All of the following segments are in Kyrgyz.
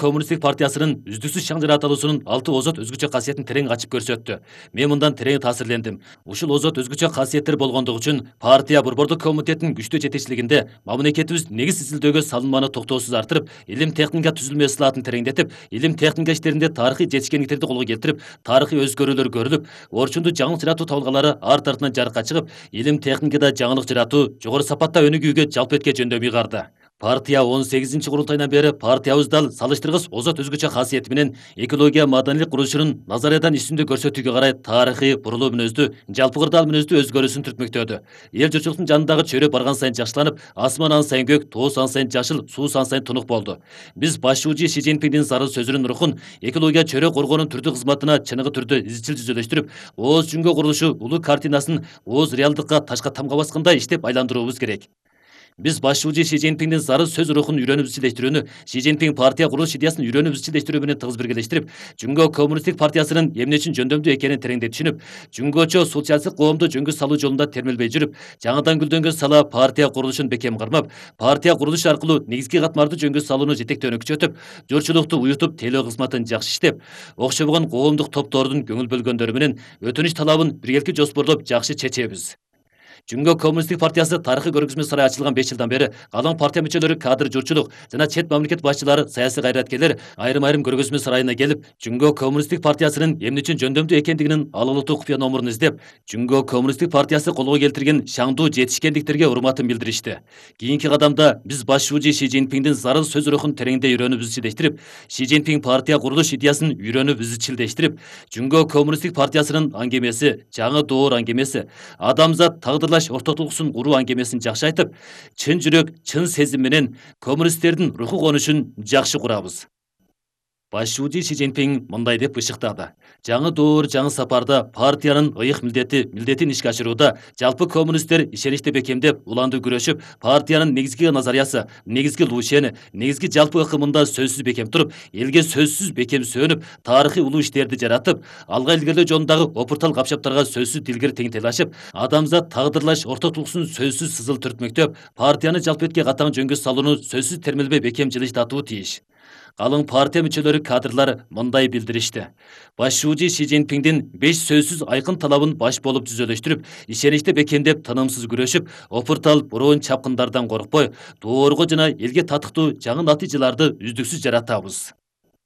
Коммунисттик партиясынын үздүксүз шаң жаратылуусунун 6 озот өзгөчө касиетин терең ачып көрсөттү. Мен мындан терең таасирлендим. Ушул озот өзгөчө касиеттер болгондугу үчүн партия борбордук комитетинин күчтүү жетекчилигинде мамлекетибиз негиз изилдөөгө салынманы токтоосуз арттырып, илим техника түзүлмө ысылаатын тереңдетип, илим техника иштеринде тарыхый жетишкендиктерди колго келтирип, тарыхый өзгөрүүлөр көрүлүп, орчунду жаңылык жаратуу табылгалары арт артынан жарыкка чыгып, илим техникада жаңылык жаратуу, жогору сапатта өнүгүүгө жалпы этке жөндөм ыйгарды. Партия 18 курултайынан бери партиябыз дал салыштыргыс озот өзгөчө касиети менен экология маданийлик курулушунун назариядан үстүндө көрсөтүүгө карай тарыхый бурулуу мүнөздүү, жалпы кырдаал мүнөздүү өзгөрүүсүн түртмөктөдү. Эл журтчулуктун жанындагы чөйрө барган сайын жакшыланып, асман ан сайын көк, тоо ан сайын жашыл, суу ан сайын тунук болду. Биз башчыбыз Ши Цзиньпиндин зарыл сөзүнүн рухун экология чөйрө коргоонун түрдүү кызматына чыныгы түрдө изчил жүзөлөштүрүп, ооз жүнгө курулушу улуу картинасын ооз реалдыкка ташка тамга баскандай иштеп айландырууубуз керек. Биз башчыбыз Ши Цзиньпиндин зарыл сөз рухун үйрөнүп изчилдештирүүнү, Ши Цзиньпин партия курулуш идеясын үйрөнүп изчилдештирүү менен тыгыз биргелештирип, Жүнгө коммунисттик партиясынын эмне үчүн жөндөмдүү экенин тереңдей түшүнүп, Жүнгөчө социалисттик коомду жөнгө салуу жолунда термелбей жүрүп, жаңыдан гүлдөнгөн сала партия курулушун бекем кармап, партия курулушу аркылуу негизги катмарды жөнгө салууну жетектөөнү күчөтүп, журтчулукту уютуп тейлөө кызматын жакшы иштеп, окшобогон коомдук топтордун көңүл бөлгөндөрү менен өтүнүч талабын биргеликти жоспорлоп жакшы чечебиз. Жүнгө коммунисттик партиясы тарыхый көргөзмө сарайы ачылган 5 жылдан бери калың партия мүчөлөрү, кадр, журтчулук жана чет мамлекет башчылары, саясий кайраткерлер айрым көргөзмө сарайына келип, Жүнгө коммунисттик партиясынын эмне үчүн жөндөмдүү экендигинин алалыктуу купуя номурун издеп, Жүнгө коммунисттик партиясы колго келтирген шаңдуу жетишкендиктерге урматын билдиришти. Кийинки кадамда биз башчыбыз Ши Цзиньпиндин зарыл сөз рухун тереңдей үйрөнүп изчилдештирип, Ши Цзиньпин партия курулуш идеясын үйрөнүп изчилдештирип, Жүнгө коммунисттик партиясынын аңгемеси, жаңы доор аңгемеси, адамзат тагдырлаш ортотулуксун куруу аңгемесин жакшы айтып, чын жүрөк, чын сезим менен коммунисттердин руху конушун жакшы курабыз. Башчыбыз Ши Цзиньпин мындай деп ышыктады. Жаңы доор, жаңы сапарда партиянын ыйык милдетин ишке ашырууда жалпы коммунисттер ишеничти бекемдеп, уланды күрөшүп, партиянын негизги назариясы, негизги лушени, негизги жалпы ыкымында сөзсүз бекем туруп, элге сөзсүз бекем сөнүп, тарыхый улуу иштерди жаратып, алга илгерилөө жолундагы опуртал капшаптарга сөзсүз дилгир теңтелашып, адамзат тагдырлаш ортотулуксун сөзсүз сызыл түртмөктөп, партияны жалпы этке катаң жөнгө салууну сөзсүз термелбей бекем жылыштатуу тийиш. Калың партия мүчөлөрү, кадрлар мындай билдиришти. Башчыбыз Ши Цзиньпиндин 5 сөзсүз айкын талабын баш болуп жүзөлөштүрүп, ишеничти бекемдеп, тынымсыз күрөшүп, опуртал буруун чапкындардан коркпой, доорго жана элге татыктуу жаңы натыйжаларды үздүксүз жаратабыз.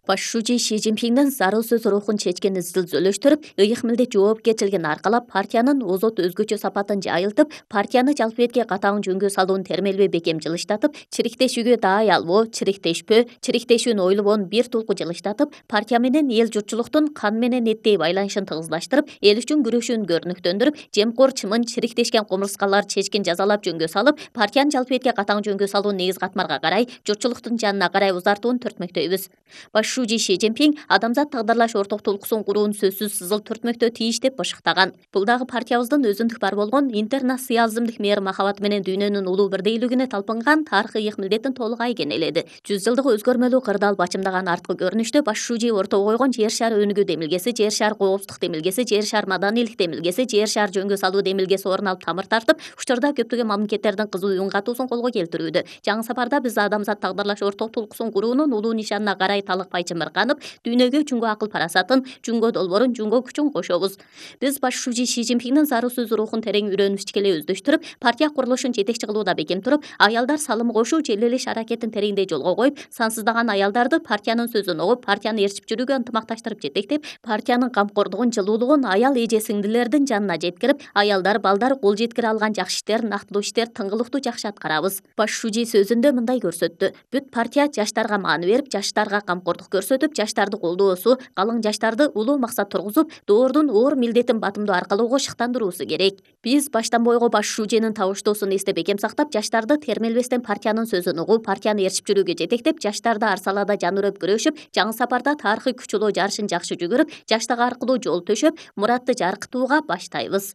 Башчыбыз Ши Цзиньпиндин зарыл сөз рухун чечкен изчилдештирип, ыйык милдет жоопкерчилигин аркалап, партиянын озот өзгөчө сапатын жайылтып, партияны жалпы этке катаң жөнгө салуун термелбей бекем жылыштатып, чириктешүүгө даай албоо, чириктешүүнү ойлобон бир тулку жылыштатып, партия менен эл журтчулуктун кан менен эттей байланышын тыгызлаштырып, эл үчүн күрөшүүнү көрүнүктөндүрүп, жемкор, чымын, чириктешкен комурскалар чечкин жазалап жөнгө салып, партиянын жалпы этке катаң жөнгө салуун негиз катмарга карай, журтчулуктун жанына карай узартууну түртмөктөйбүз. Башчыбыз Ши Цзиньпин адамзат тагдырлаш ортотулуксун курууну сөзсүз сызыл түртмөктө тийиш деп ышыктаган. Бул дагы партиябыздын өзүндүк бар болгон интернационализмдик мээр махабаты менен дүйнөнүн улуу бирдейлигине талпынган тарыхый ыйык милдетин толук айгенеледи. 100 жылдык өзгөрмөлүү кырдаал бачымдаган арткы көрүнүштө башчыбыз ортого койгон жер шары өнүгүү демилгеси, жер шары коопсуздук демилгеси, жер шары маданийлик демилгеси, жер шары жөнгө салуу демилгеси орун алып тамыр тартып, учурда көптөгөн мамлекеттердин кызуу үн катуусун колго келтирүүдө. Жаңы сапарда биз адамзат тагдырлаш ортотулуксун куруунун улуу нишанына карай талыкпай чымырганып, дүйнөгө жүнгө акыл парасатын, жүнгө долбоорун, жүнгө күчүн кошобуз. Биз башчыбыз Ши Цзиньпиндин зарыл сөз рухун терең үйрөнүп ичкелей өздөштүрүп, партия курулушун жетекчи кылууда бекем туруп, аялдар салым кошуу, желелеш аракетин тереңдей жолго коюп, сансыздаган аялдарды партиянын сөзүн угуп, партияны ээрчип жүрүүгө ынтымакташтырып жетектеп, партиянын камкордугун, жылуулугун аял эже сиңдилердин жанына жеткирип, аялдар, балдар кол жеткире алган жакшы иштер, нактылуу иштер, тыңгылыктуу жакшы аткарабыз. Башчыбыз сөзүндө мындай көрсөттү. Бүт партия жаштарга маани берип, жаштарга камкордук көрсөтүп, жаштарды колдоосу, калың жаштарды улуу максат тургузуп, доордун оор милдетин батымдоо аркылуу шыктандыруусу керек. Биз баштан бойго башчыбыздын табыштоосун эсте бекем сактап, жаштарды термелбестен партиянын сөзүн угуп, партияны ээрчип жүрүүгө жетектеп, жаштарды ар салада жан үрөп күрөшүп, жаңы сапарда тарыхый күч улоо жарышын жакшы жүгүрүп, жаштык аркылуу жол төшөп, муратты жаркытууга баштайбыз.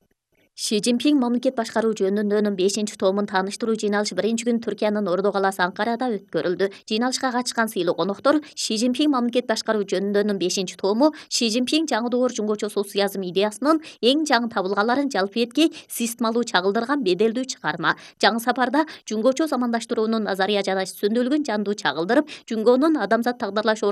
Ши Цзиньпин мамлекет башкаруу жөнүндөнүн 5-томун тааныштыруу жыйналышы биринчи күн Түркиянын Ордо калаасы Анкарада өткөрүлдү. Жыйналышка катышкан сыйлуу коноктор Ши Цзиньпин мамлекет башкаруу жөнүндөнүн 5-тому Ши Цзиньпин жаңы доор жөнгөчө социализм идеясынын эң жаңы табылгаларын жалпы этке системалуу чагылдырган беделдүү чыгарма. Жаңы сапарда жөнгөчө замандаштыруунун назария жана сөндүрүлгөн жандуу чагылдырып, жүнгөнүн адамзат тагдырлаш